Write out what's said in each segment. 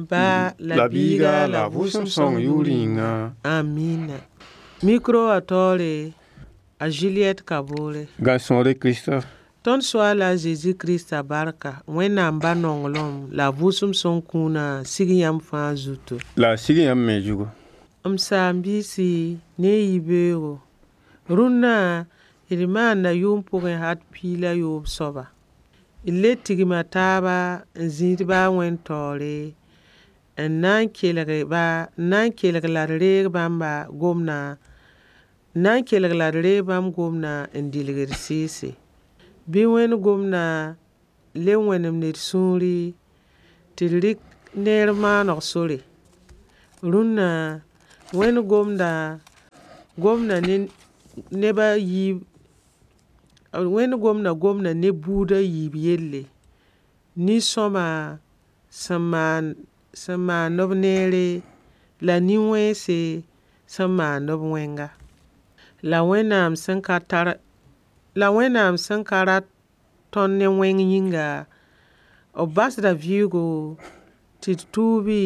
Ba la La biiga biiga la la vʋʋsem vʋʋsem sõng sõng yʋʋr yʋʋr yĩnga. yĩnga. Amina. Micro wã taoore a Juliette Kabore. Gãn-sõore Krista. Tõnd Soaala a Zezi Krista barka, Wẽnnaam ba nonglem la a vʋʋsem sõng kũunã sig yãmb fãa zuto. La a sig yãmb me zugu. M saam-biisi ne y yibeoogo, rũnnã d maanda yʋʋm pʋgẽ hat piig la yoob soaba. D le tigma taaba n zĩid ba a Wẽnd taoore n na n kelg ba n na n kelg la d reeg bãmba gomdã n na n kelg la d reeg bãmb gomdã n dilg d sɩɩse. Bɩ Wẽnd gomdã le wẽnemd d sũuri tɩ d rɩk neer maaneg sore. Rũnna Wẽnd gomda gomda ne neba yiib Wẽnd gomda gomda ne buud a yiib yelle. Nin-sõma sẽn maan sẽn maand b neere la nin-wẽnse sẽn maand b wẽnga. La Wẽnnaam sẽn ka tar la Wẽnnaam sẽn ka rat tõnd ne wẽng yĩnga, b basda vɩɩgo tɩ d tuubi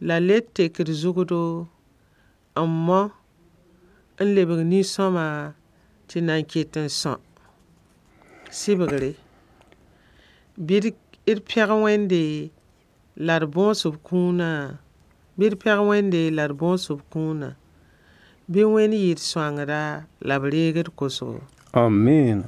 la le tek d zʋgdo n mao n lebg nin-sõma tɩ nan ket n são. Sɩbgre: Bɩ d pẽg Wẽnde la d bõos b kũuna, bɩ d pẽg Wẽnde la d bõos b kũuna. Bɩ Wẽnd yɩ d sõangda la b reeg d kosgo. Amiina.